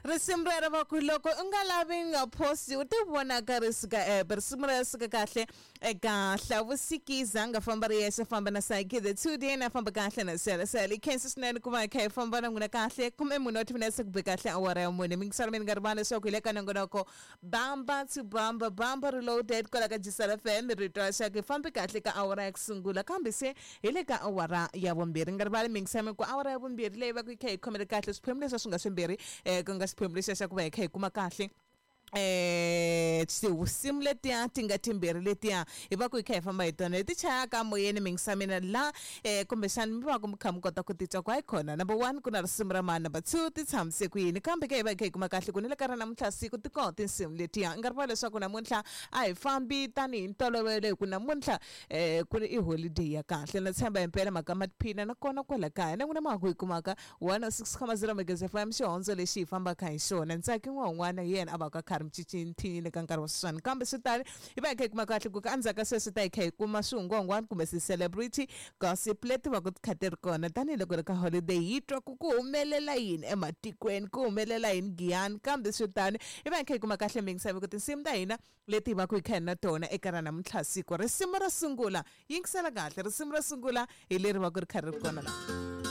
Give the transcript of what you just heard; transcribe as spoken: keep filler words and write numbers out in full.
Risimu rero va ku loko u nga lavi nga posti u ti vonaka ri suka app. Risimu rero suka kahle eka Hlavusikiza nga famba ri yexe famba na Psyche the two day na famba kahle na Sele Sele. Khensa swinene ku va hi kha hi famba na n'wina kahle kumbe munhu wa timinetse ku be kahle awara ya mune. Mingiselo mi nga rivali leswaku hi le ka nongonoko Bamba to Bamba, Bamba Reloaded kwala ka Jisal F M. Rito ra xaka hi fambi kahle ka awara ya ku sungula kambe se hi le ka awara ya vumbirhi. Nga rivali mingiselo ku awara ya vumbirhi leyi va ku yi kha yi khomele kahle swiphemu leswi swi nga swimbirhi, eh, ku nga xiphemu lexiya xa ku va hi kha hi kuma kahle eh tinsimu letiya ti nga timbirhi letiya hi va ku hi kha hi famba hi tona leti chayaka moyeni mingisamina la, eh, kumbexani mi va ku mi kha mi kota ku titwa ku hayi khona number one ku na risimu ra mani, number two ti tshamise ku yini, kambe ke hi va hi kha hi kuma kahle ku ni le ka ra namuntlha siku ti kona tinsimu letiya. Nga rivali leswaku namuntlha a hi fambi tanihi ntolovelo hi ku namuntlha, eh, ku ri i holiday ya kahle. Na tshemba himpela mhaka ma tiphina nakona kwala kaya na n'wina ma ha ku yi kumaka one oh six comma zero Magezi F M xihondzo lexi hi fambaka hi xona. Ntsaki n'wana un'wana hi yena a va ka kha ri micicintini ka nkarhi wa sweswiwani, kambe swi tani hi va hi kha hi kuma kahle ku ka endzhaku ka sweswi ta hi kha hi kuma swihungwahungwani kumbe ti-celebrity gossip leti va ku ti kha ti ri kona tanihiloko ri ka holiday hi twa ku ku humelela yini ematikweni, ku humelela yini Giyani, kambe swi tani hi va hi kha hi kuma kahle mingisavo ku tinsimu ta hina leti hi va ku hi kha hi na tona eka ra namuntlha siku. Risimu ro sungula, yingisela kahle, risimu ro sungula hi leri va ku ri kha ri ri kona laha.